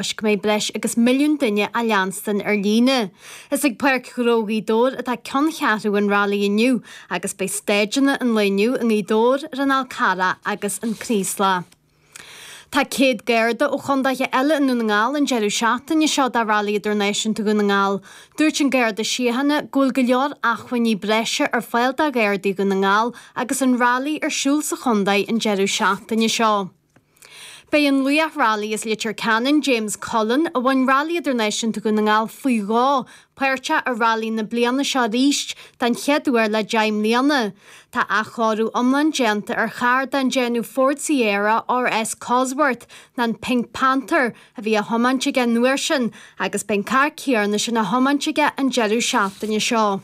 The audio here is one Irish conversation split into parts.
Toisc go mbeidh breis agus milliún duine á leanstan ar líne. Is ag Páirc Ghnó Ghaoth Dobhair atá ceanncheathrú an Railí inniu agus beidh staideanna an lae inniu i nGaoth Dobhair, ar an Fhál Carrach agus an Craoslach. Tá 100 Garda ó chondaetha eile i nDún na nGall an deireadh seachtaine seo do Railí Idirnáisiúnta Dhún na nGall. Dúirt an Garda Síochána go bhfuil go leor acmhainní breise ar fáil do Ghardaí Dhún na nGall agus an Railí ar siúl sa chondae an deireadh seachtaine seo. Beidh an laoch railí as Leitir Ceanainn, James Cullen, a bhain Railí Idirnáisiúnta Dhún na nGall faoi dhó, páirteach i railí na bliana seo arís den chéad uair le 10 mbliana. Tá athchóiriú iomlán déanta ar charr den déanamh Ford Sierra RS Cosworth, nó an Pink Panther, a bhí á thiomáint aige an uair sin agus beidh an carr céanna sin á thiomáint aige an deireadh seachtaine seo.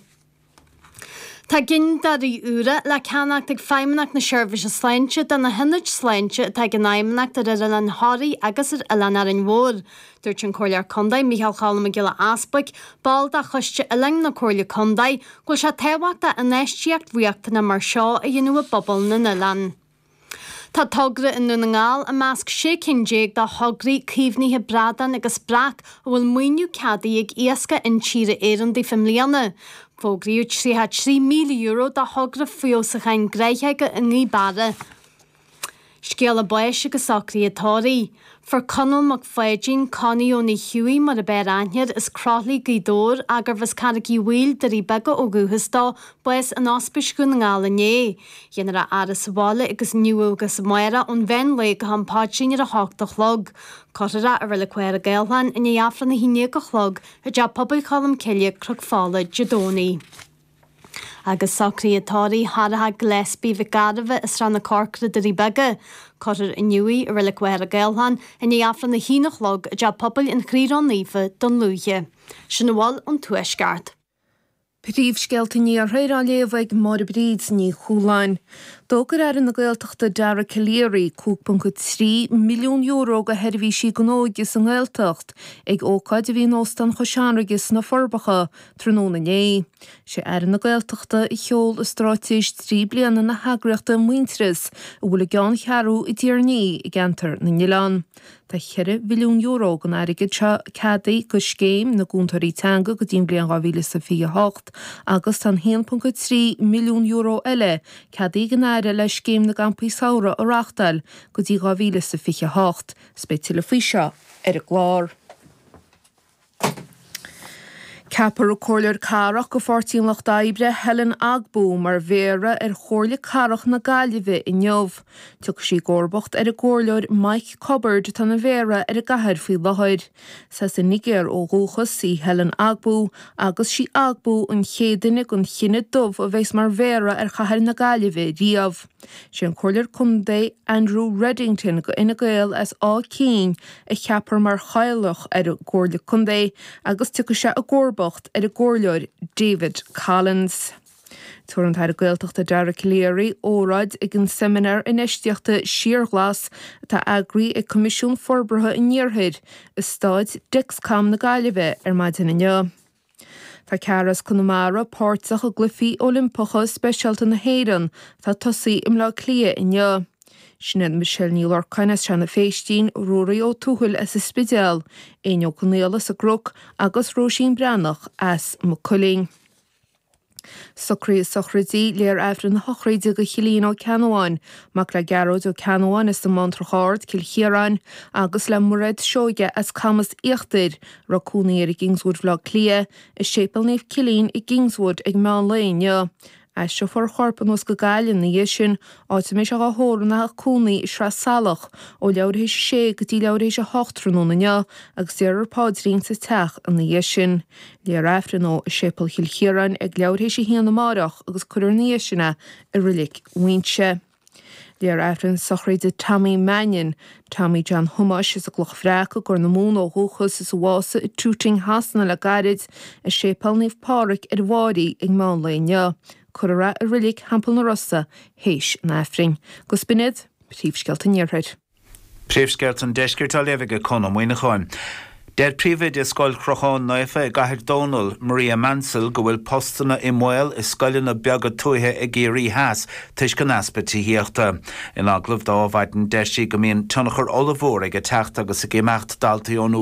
Tá gineadóirí úra le ceannacht ag Feidhmeannacht na Seirbhíse Sláinte do na hionaid sláinte atá ag an Fheidhmeannacht ar Oileán Thoraí agus ar Oileán Árainn Mhór. Dúirt an Comhairleoir Contae Micheál Cholm Mac Giolla Easbuic, ball de Choiste Oileáin na Comhairle Contae, go bhfuil sé tábhachtach infheistíocht riachtanach mar seo a dhéanamh i bpobal na n-oileán. Tá togra i nDún na nGall i measc 16 cinn de thograí caomhnaithe bradán agus breac a bhfuil maoiniú ceadaithe ag Iascach Intíre Éireann daofa i mbliana. Fógraíodh €33,000 do thogra feabhsúcháin gnáthóige i nGaoth Beara. Scéala báis agus socruithe tórraimh. Fuair Conall Mac Pháidín, Connie Eoin Uí Hughie mar ab fhearr aithne air, as Croithlí, Gaoth Dobhair, gurbh as Carraig Uí Bhaoill, Doirí Beaga ó dhúchas dó, bás in Ospís Dhún na nGall inné. Dhéanfar a fhaire sa bhaile agus inniu agus amárach ón mheán lae go ham paidrín ar a hocht a chlog. Cuirfear é i Reilig Mhachaire Gathlán i ndiaidh Aifreann a haon déag a chlog i dTeach Pobail Cholm Cille, Cnoc Fola, Dé Domhnaigh. Agus socruithe tórraimh Tharraithe Gillespie Mhic Gairbheith as Srath na Corcra, Doirí Beaga. Cuirfear inniu í i Reilig Mhachaire Gathlán i ndiaidh Aifreann a haon a chlog i dTeach Pobail an Chroí Ró-Naofa, Dún Lúiche. Sin a bhfuil ón Tuaisceart. Príomhscéalta an Iarthair á léamh ag Máire Bríd Ní Chualáin. D'fhógair Aire na Gaeltachta Dara Calleary €5.3 milliún do sheirbhísí don óige sa nGaeltacht ag ócáid a bhí in Óstán Chois Fharraige sna Forbacha tráthnóna inné. Sé Aire na Gaeltachta a sheol straitéis 3 bliana na heagraíochta Muintearas a bhfuil a gceanncheathrú i dTír an Fhia i gCeantar na nOileán. Tá €4 mhilliún den airgead seo ceadaithe do Scéim na gCúntóirí Teanga go dtí an bhliain 2028 agus tá an €1.3 milliún eile ceadaithe ag an Aire le Scéim na gCampaí Samhraidh a reáchtáil go dtí 2028. 'S beidh tuilleadh faoi seo ar an gclár. Ceapfar an Comhairleoir Cathrach do Pháirtí an Lucht Oibre, Helen Ogbu, mar Mhéara ar Chomhairle Cathrach na Gaillimhe inniu. Tiocfaidh sí i gcomharbacht ar an gComhairleoir Mike Cubbard atá ina Mhéara ar an gcathair faoi láthair. Is as an Nigéir ó dhúchas í Helen Ogbu agus sí Ogbu an chéad duine den chine dubh a bheas mar Mhéara ar chathair na Gaillimhe riamh. Sé an Comhairleoir Contae Andrew Reddington do Fhine Gael as Áth Cinn a cheapfar mar Chathaoirleach ar an gComhairle Contae agus tiocfaidh sé i gcomharbacht ar an gComhairleoir David Collins. Tabharfaidh an tAire Gaeltachta Dara Calleary óráid ag an Seimineár Infheistíochta Síorghlas atá eagraithe ag Coimisiún Forbartha an Iarthair i Staid Dexcom na Gaillimhe ar maidin inniu. Tá ceathrar as Conamara páirteach i gCluichí Oilimpeacha Speisialta na hÉireann atá ag tosaí i mBleá Cliath inniu. Sin iad Michelle Ní Lorcáin as Seanadh Phéistín, Ruairí Ó Tuathail as an Spidéal, Éinne Ó Conaola as an gCnoc agus Róisín Breathnach as Maigh Cuilinn. Socruithe sochraide, Léifear Aifreann na sochraide do Chillian Ó Ceannabháin, mac le Gearóid Ó Ceannabháin as an mBantrach Ard, Cill Chiaráin, agus le Mairéad Seoige as Camas Íochtair, a raibh cónaí air i gKingswood Bhaile Átha Cliath, i Séipéal Naomh Cillian i gKingswood ag meán lae inniu. Aistreofar a chorp anuas go Gaillimh ina dhiaidh sin, áit a mbeidh sé dhá thórramh ina theach cónaí i Sraith Salach ó leathuair théis a sé go dtí leathuair théis a hocht tráthnóna inniu agus déarfar paidrín sa teach ina dhiaidh sin. Léifear Aifreann dó i Séipéal Chill Chiaráin ag leathuair théis a haon amáireach agus cuirfear ina dhiaidh sin é i Reilig Mhuighinse. Léifear Aifreann sochraide Tommy Mannion, Tommy John Thomáis as an gCloch Bhreac i gCorr na Móna ó dhúchas is a bhásaigh i Tooting Shasana le gairid, i Séipéal Naomh Pádraig ar an bhFáirí ag meán lae inniu. Cuirfear é i Reilig Theampall na Rosa théis an Aifrinn. Agus b'in iad príomhscéalta an Iarthair. Príomhscéalta an Deiscirt á léamh ag Conn Ó Muíneacháin. Deir príomhoide Scoil Chrocháin Naofa i gCathair Dónall, Maria Mansell, go bhfuil postanna i mbaol i scoileanna beaga tuaithe i gCiarraí Theas toisc an easpa tithíochta. In agallamh do Adhmhaidin deir sí go mbíonn tionchar ollmhór ag teacht agus ag imeacht daltaí ón.